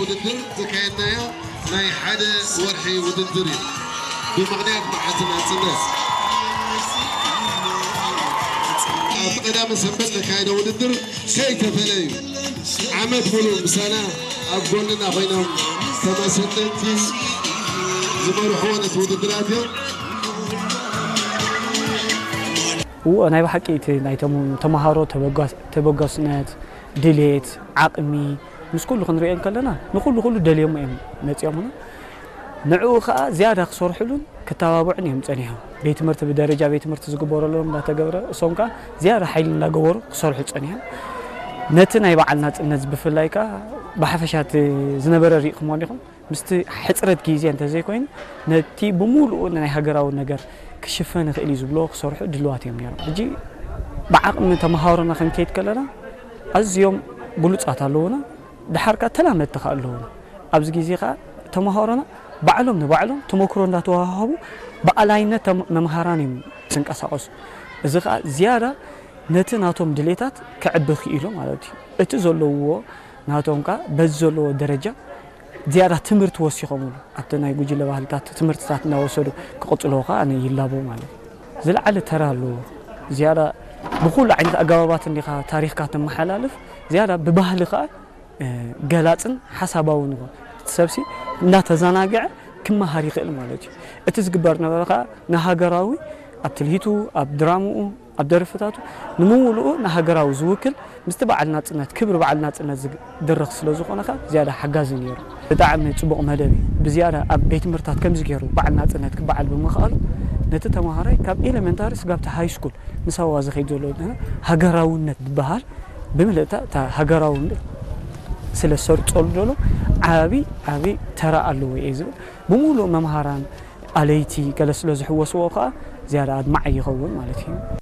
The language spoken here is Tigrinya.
ውድድር ዘካየድናዮ ናይ ሓደ ወርሒ ውድድር እዩ። ብምኽንያት መዓልቲ ናጽነት ኣብ ቀዳምን ሰንበት ዘካየደ ውድድር ከይተፈለዩ ዓመት ሙሉእ ምሳና ኣብ ጎንና ኮይኖም ከም ኣሰልጠንቲ ዝመርሕዎ ነቲ ውድድራት እዮም። እዎ ናይ ብሓቂ እቲ ናይ ተምሃሮ ተበጋስነት፣ ድሌት፣ ዓቕሚ ምስ ኩሉ ክንሪኦ እንከለና ንኹሉ ኩሉ ደልዮሞ እዮም መፂኦምና። ንዕኡ ከዓ ዝያዳ ክሰርሕሉን ክተባብዑን እዮም ፀኒሖም። ቤት ትምህርቲ ብደረጃ ቤት ትምህርቲ ዝግበረሎም እንዳተገብረ እሶም ከዓ ዝያዳ ሓይሊ እንዳገበሩ ክሰርሑ ፀኒሖም። ነቲ ናይ በዓል ናፅነት ብፍላይ ከዓ ብሓፈሻ እቲ ዝነበረ ርኢኹሞ እንዲኹም ምስቲ ሕፅረት ግዜ እንተዘይኮይኑ ነቲ ብምሉኡ ናይ ሃገራዊ ነገር ክሽፈን ይኽእል እዩ ዝብሎ ክሰርሑ ድልዋት እዮም ነይሮም። ሕጂ ብዓቕሚ ተምሃሮና ክንከይድ ከለና ኣዝዮም ብሉፃት ኣለዉና፣ ድሓር ከዓ ተላመድቲ ከዓ ኣለዉና። ኣብዚ ግዜ ከዓ ተምሃሮና ባዕሎም ንባዕሎም ተመክሮ እንዳተዋሃሃቡ ብኣላይነት ተም- መምሃራን እዮም ዝንቀሳቐሱ። እዚ ከዓ ዝያዳ ነቲ ናቶም ድሌታት ከዕቢ ክኢሉ ማለት እዩ። እቲ ዘለውዎ ናቶም ከዓ በዚ ዘለዎ ደረጃ ዝያዳ ትምህርቲ ወሲኾምሉ ኣብቲ ናይ ጉጅለ ባህልታት ትምህርትታት እናወሰዱ ክቕፅልዎ ከዓ ኣነ ይላቦ ማለት እዩ። ዝለዓለ ተራ ኣለዎ። ዝያዳ ብኩሉ ዓይነት ኣገባባት እንዲኻ ታሪኽካ ተመሓላልፍ ዝያዳ ብባህሊ ከዓ ገላፅን ሓሳባውን ይኹን እቲ ሰብሲ እናተዘናግዐ ክመሃር ይኽእል ማለት እዩ። እቲ ዝግበር ነበረ ከዓ ንሃገራዊ ኣብ ትልሂቱ ኣብ ድራምኡ ኣብ ደርፍታቱ ንምውልኡ ንሃገራዊ ዝውክል ምስቲ በዓል ናፅነት ክብሪ በዓል ናፅነት ዝድረኽ ስለ ዝኾነ ከዓ ዝያዳ ሓጋዚ ነይሩ። ብጣዕሚ ፅቡቕ መደብ እዩ። ብዝያዳ ኣብ ቤት ትምህርታት ከምዚ ገይሩ በዓል ናፅነት ክበዓል ብምኽኣሉ ነቲ ተምሃራይ ካብ ኤለመንታሪ ስጋብ ሃይ ስኩል ምሳዋ ዝኸይድ ዘሎ ሃገራውነት ዝበሃል ብምልእታ እታ ሃገራውነት ስለ ዝሰርፀሉ ዘሎ ዓቢ ዓቢ ተራ ኣለዎ እየ ዝብል። ብምሉእ መምሃራን ኣለይቲ ገለ ስለ ዝሕወስዎ ከዓ ዝያዳ ኣድማዒ ይኸውን ማለት እዩ።